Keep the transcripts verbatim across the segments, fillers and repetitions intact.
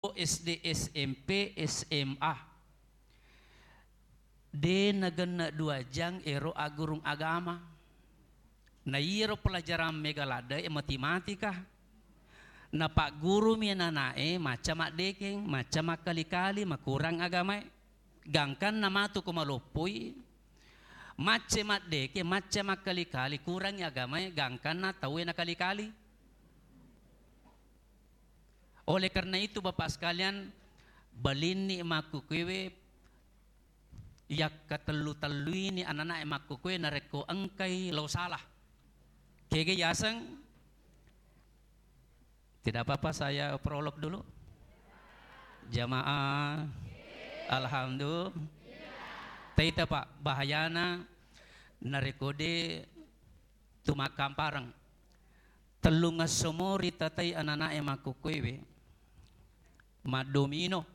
S D, S M P, S M A. De' nagenne' dua jang ero aggurung agama. Na iyaro pelajaran mega ladde' e matematika. Napaggurumi anana'e macca maddekeng, macca makkali-kali, makurang agamae. Gangkanna matu ko maloppoi, macca maddekeng, macca makkali-kali, kurangi agamae, gangkanna tauwe nakali-kali. Oleh karena itu, Bapak sekalian, balinni makkukuewe, yakkatellu-telluini anana'e makkukuewe narekko engkai lao salah. Kege yaseng, tidak apa-apa saya prolog dulu. Jamaah, alhamdulillah. Taita, Pak, bahayana narekko de' tu makkampareng. Tellungesso mo ritatai anana'e makkukuewe maddomino.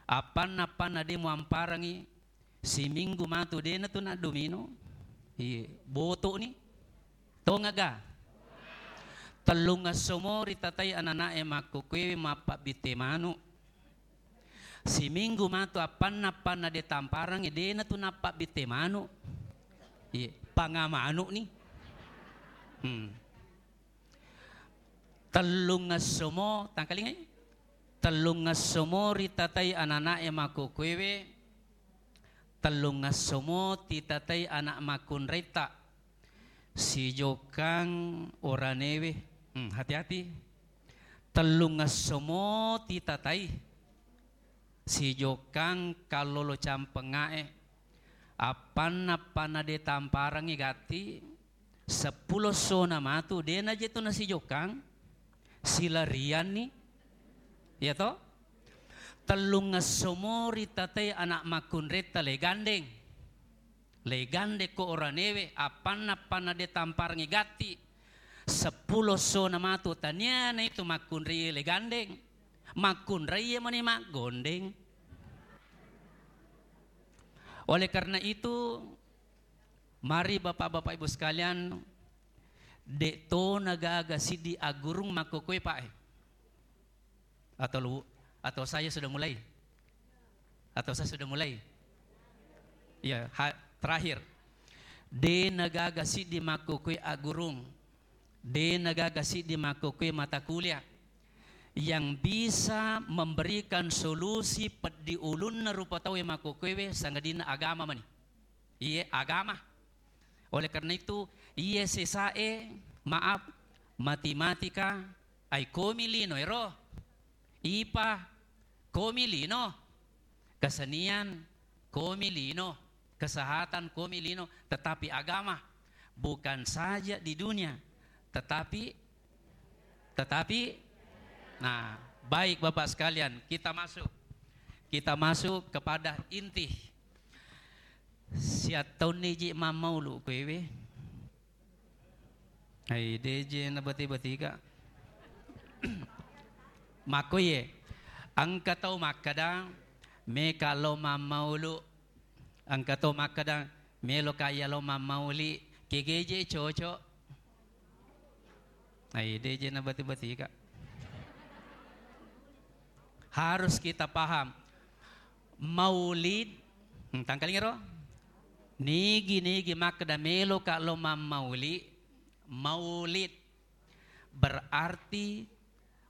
Appanna-appanna de' muamparengi, siminggu matu de'na tu naddomino. Iye, boto'ni. Tongaga? Tellungesso mo ritatai anana'e makkukuewe mappabbitte manu. Siminggu matu appanna-appanna de' tamparengngi, de'na tu nappabbitte manu. Iye, panga manu'ni. Hmm. Tellungesso mo, tangkalingai? Tellungesso mo ritatai anana'e makkukuewe, tellungesso mo titatai ana' makkunraitta. Sijokkang oranewe, hmm, hati-hati. Tellungesso mo titatai. Sijokkang kallolo campengnga'e. Appanna-appanna de' tamparengngi gatti, seppulo essona matu, de'na je tu nasijokkang, silarianni. Iya to? Tellungesso mo ritatai ana' makkunraitta le gandeng. Le gandekko oranewe, appanna-appanna de' tamparengngi gatti, seppulo essona matu, taniana itu makkunrai le gandeng, makkunrai mani maggondeng. Oleh karena itu, mari Bapak-bapak Ibu sekalian, de' to nagaga siddi aggurung makkokkoe, Pak, e. Atau lu-, atau saya sudah mulai? Atau saya sudah mulai? Ya, ha-, terakhir. De' nagaga siddi makkokkoe aggurung. De' nagaga siddi makkokkoe mata kuliah yang bisa memberikan solusi peddi ulunna rupa tau e makkokkoewe, sangadinna agama mani. Iye, agama. Oleh karena itu, iye sesae, maaf, matematika, ai komi lino ero. IPA, komi lino. Kesenian, komi lino. Kesehatan, komi lino. Tetapi agama, bukan saja di dunia, tetapi, tetapi, nah, baik Bapak sekalian, kita masuk. Kita masuk kepada inti. Siattaunni ji mammaulu kuewe. Ai, deje nabati-batika. Makkoye, engka tau makkeda, meka lo mammaulu. Engka tau makkeda, melo kaya lo mammauli. Kegeje cocok. Ai, deje nabati-batika. Harus kita paham. Maulid, hmm, tangkalinga ro? Nigi-nigi makkeda meloka lo mammauli, maulid berarti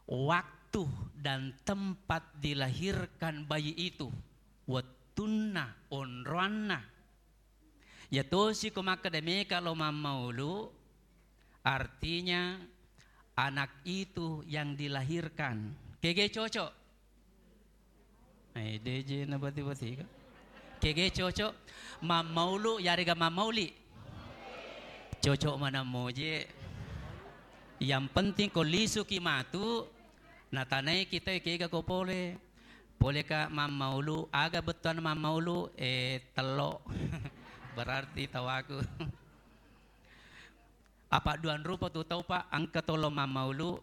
waktu dan tempat dilahirkan bayi itu, wettunna, onroanna. Yatosi ko makkeda meka lo mammaulu, artinya anak itu yang dilahirkan. Kege cocok? Eh, deje nabati-batika. Kege cocok? Mammaulu yarega mammauli? Cocok manammoje. Yang penting ko lisuki matu, natanai kita kega ko pole. Poleka mammaulu, aga bettuanna mammaulu? Eh, tello. Berarti tawaku. Apa duan rupa tu tau, Pak, engka to lo mammaulu,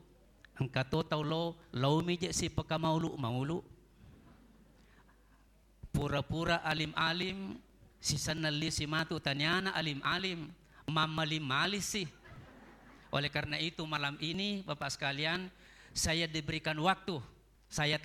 engka to tau lo, laomi je sipakamaulu-maulu. Pura-pura alim-alim, sisenna lisi matu taniana alim-alim, mammalim-malim si. Oleh karena itu malam ini, Bapak sekalian, saya diberikan waktu, saya